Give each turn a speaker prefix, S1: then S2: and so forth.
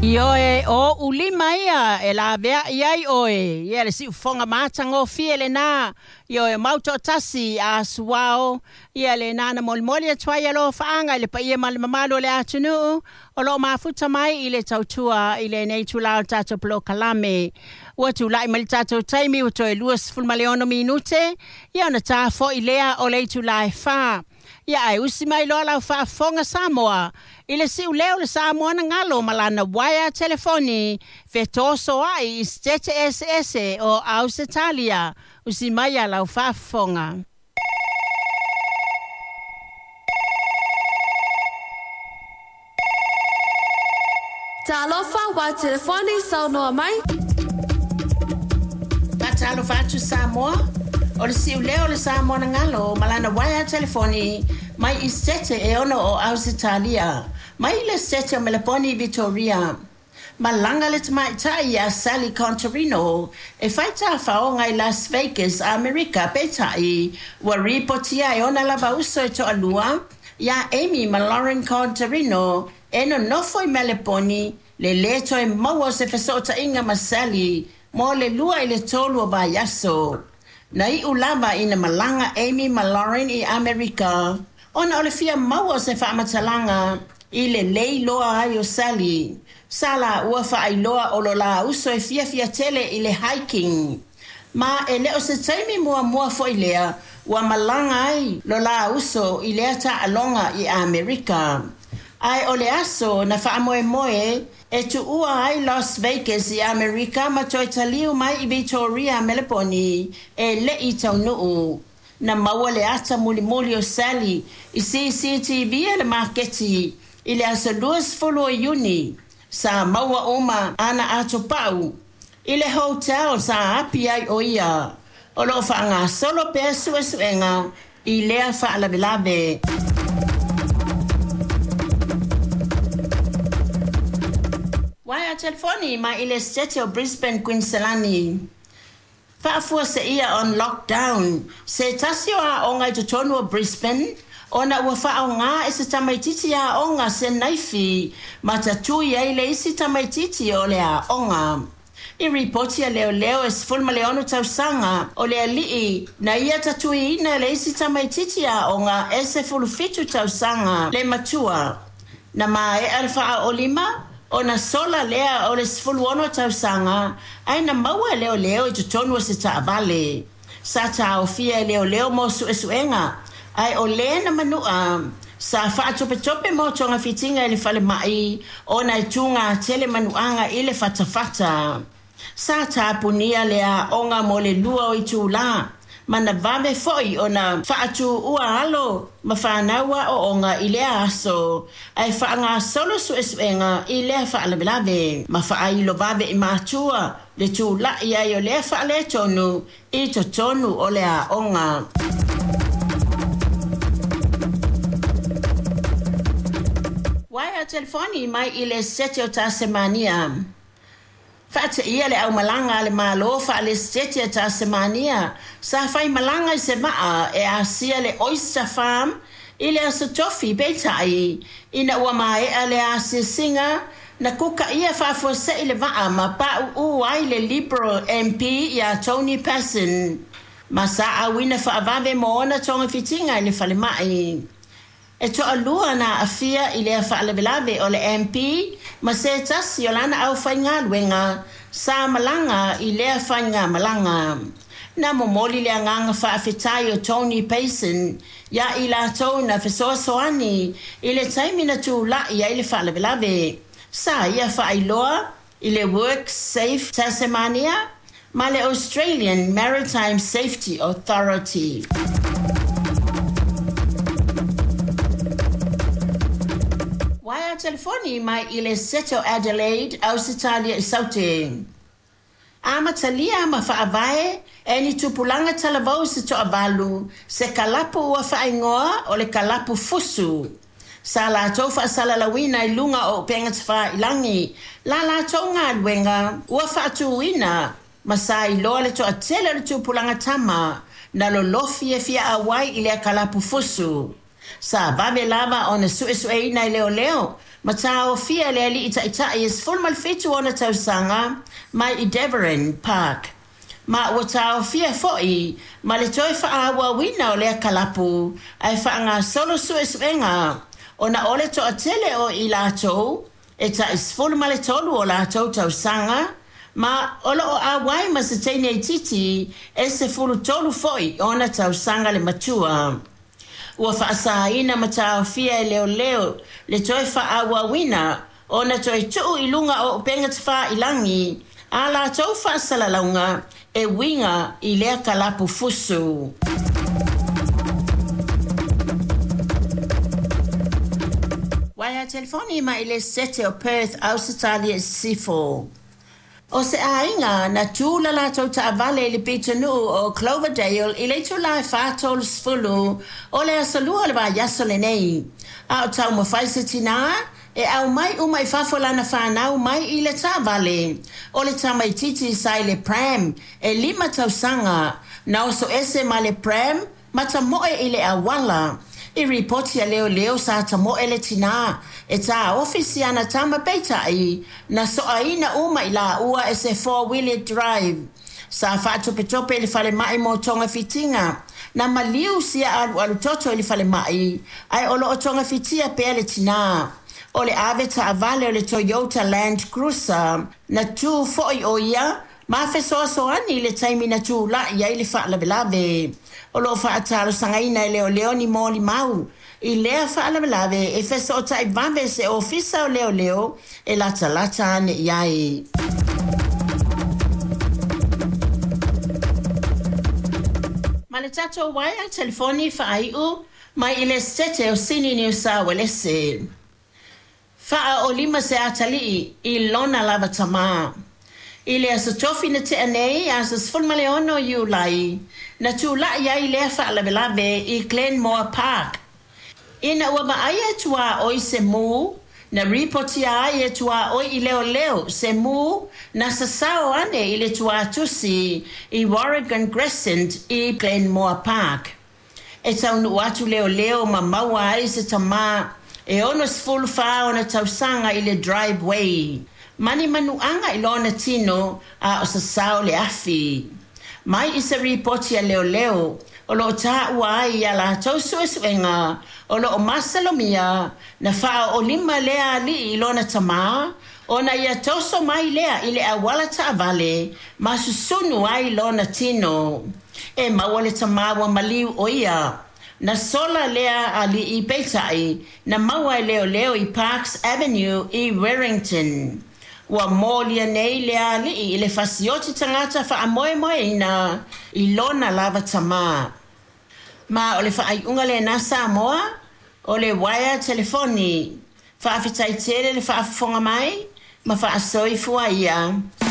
S1: Ioe, o ou lima ia e laveai ai oe. Ia le siufofoga matagofie lena. Ioe, mau toatasi a suao. Ia lena na molimoli atu ai alofaaga i le paia ma le mamalu o le atunuu o loo mafuta mai i le tautua i lenei itulā o le tatou polokalame. Ua tula'i mai le tatou taimi ua toe 26 minute, ia ona ta fo'i lea o le itulā e 4. Ia ae usi mai loa lau faafofoga Samoa i le siuleo o le Samoa na galo ma lana uaea telefoni fetosoa'i i Setete Eseese o Ausetalia. Usi mai a lau faafofoga.
S2: Talofa wa telefoni saunoa mai.
S1: Faatalofa atu Samoa, o le siuleo o le Samoa na galo ma lana uaea telefoni mai i Setete e 6 o Ausetalia, mai le Setete o Meleponi, Vitoria. Malaga le tamaitai ia Sally Contorino e fai tafaoga i Las Vegas, Amerika, peitai ua ripotia e ona lava uso e toalua, iā Amy ma Lauren Contorino e nonofo i Meleponi, le lē toe maua o se fesootaiga ma Sally mo le 2 i le 3 o vaiaso. Na iu lava ina malaga Amy ma Lauren i Amerika ona o le fia maua o se faamatalaga i le lē iloa ai o Sally. Sa laua faailoa o lo la uso e fiafia tele i le hiking. Ma e le o se taimi muamua fo'i lea ua malaga ai lo la uso i lea taaloga i Amerika. Ae o le aso na faamoemoe e tuua ai Las Vegas i Amerika ma toe taliu mai i Vitoria, Meleponi, e le'i taunuu. Na maua le ata mulimuli o Sally i CCTV a le maketi i le aso 20 o Iuni. Sa maua uma ana atopau i le hotel sa api ai o ia. O loo faagasolo pea suesuega i lea faalavelave. Uaea telefoni mai i le Setete o Brisbane, Kuiniselani. Faafuaseia on lockdown se tasi o aoga i totonu o Brisbane ona ua faaaogā e se tamaititi aoga se naifi ma tatui ai le isi tamaititi o le aoga. I ripoti a leoleo e 16 tausaga o le alii na ia tatuiina le isi tamaititi aoga e 17 tausaga le matua. Na maea le faaolima ona sola lea o le 16 tausaga ae na maua e leoleo i totonu o se taavale. Sa taofia e leoleo mo suesuega ae o lē na manua sa faatopetope mo togafitiga i le falemai ona e tugatele manuaga i le fatafata. Sa tapunia le aoga mo le 2 o itulā ma na vave fo'i ona faatuua alo ma fanau aooga i lea aso ae faagasolo suesuega i lea faalavelave ma faailo vave i matua le tula'i ai o lea faaletonu i totonu o le aoga. Uaea telefoni mai i le Setete o Tasemania. Faateia le aumalaga a le Mālō faalesitete a Tasemania sa faimalaga i se vaa e asia le Oyster Farm i le aso Tofi, peitai ina ua maea le asiasiga na kukaia faafuase'i le vaa ma paʻuʻū ai le Liberal MP iā Tony Pasin ma sa auina faavave mo ona togafitiga i le falemai. E toalua na aafia i lea faalavelave, o le MP ma se tasi o lana aufaigaluega sa malaga i lea faigamalaga. Na momoli le agaga faafetai o Tony Pasin iā i latou na fesoasoani i le taimi na tula'i ai le faalavelave. Sa ia faailoa i le WorkSafe Tasmania ma le Australian Maritime Safety Authority. Uaea telefoni mai i le Setete o Adelaide, Ausetalia i Saute. Amatalia ma faavae e ni tupulaga talavou se toavalu se kalapu ua faaigoa o le Kalapu Fusu. Sa latou faasalalauina i luga o upega tafailagi la latou galuega ua faatuina ma sa iloa le toatele o le tupulaga tama na lolofi e fia auai i lea kalapu fusu. Sa vave lava ona suesueina e leoleo Ma taofia le alii taitai e 17 ona tausaga mai i Davoren Park. Ma ua taofia foi ma le toe faaauauina o lea kalapu ae faagasolo suesuega ona o le toatele o i latou e tai 13 o latou tausaga ma o loo auai ma se teine itiiti e 13 foi ona tausaga le matua. Ua faasaina ma taofia e leoleo le toe faaauauina ona toe tuu i luga o upega tafailagi a latou faasalalauga e uiga i lea kalapu fusu. Waea telefoni mai le Sete o Perth, Ausetalia i Sisifo. O se aiga na tu le latou taavale i le pitonuu o Cloverdale i le itula e 4:30 o le aso Lua o le vaiaso lenei. A o taumafai se tinā e aumai uma i fafo lana fanau mai i le taavale. O le tamaititi sa i le pram e 5 tausaga na oso ese ma le pram ma tamoe i le auala. I ripoti a leoleo sa tamoe le tinā e taofi si ana tama peitai na soaina uma i laua e se four-wheeler drive. Sa faatopetope i le falemai mo togafitiga. Na maliu sia alualu toto i le falemai ae o loo togafitia pea le tinā. O le ave taavale o le Toyota Land Cruiser na tu foi o ia ma fesoasoani i le taimi na tulai ai le faalavelave. O loo faatalosagaina e leoleo ni molimau i lea faalavelave e fesootai vave se ofisa o leoleo e latalata ane i ai. Ma le tatou waea telefoni faaiu mai i le Sete o Sini Niu Sa Uelese. Faaolima se atalii i lona lava tamā. I le aso Tofi na tea nei, aso 16 Iulai, na tula'i ai lea faalavelave i Glenmore Park. Ina ua vaaia e tuaoi se mū, na ripotia ai e tuaoi i leoleo se mū na sasao ane i le tuatusi i Warrigan Crescent i Glenmore Park. E taunuu atu leoleo ma maua ai se tamā e 64 ona tausaga i le driveway. Ma ni manuaga i lona tino a o sasao le afi. Mai i se ripoti a leoleo o loo taua ai ia latou suesuega o loo masalomia na faaolima lea alii i lona tamā ona ia toso mai lea i le auala taavale ma susunu ai lona tino. E maua le tamā ua maliu o ia. Na sola lea alii peitai na maua e leoleo i Parks Avenue i Werrington. Ua molia nei le alii i le fasioti tagata faamoemoeina i lona lava tamā. Ma o le faaiuga lenā Samoa o le waea telefoni. Faafetai tele le faafofoga mai ma faasoifua ia.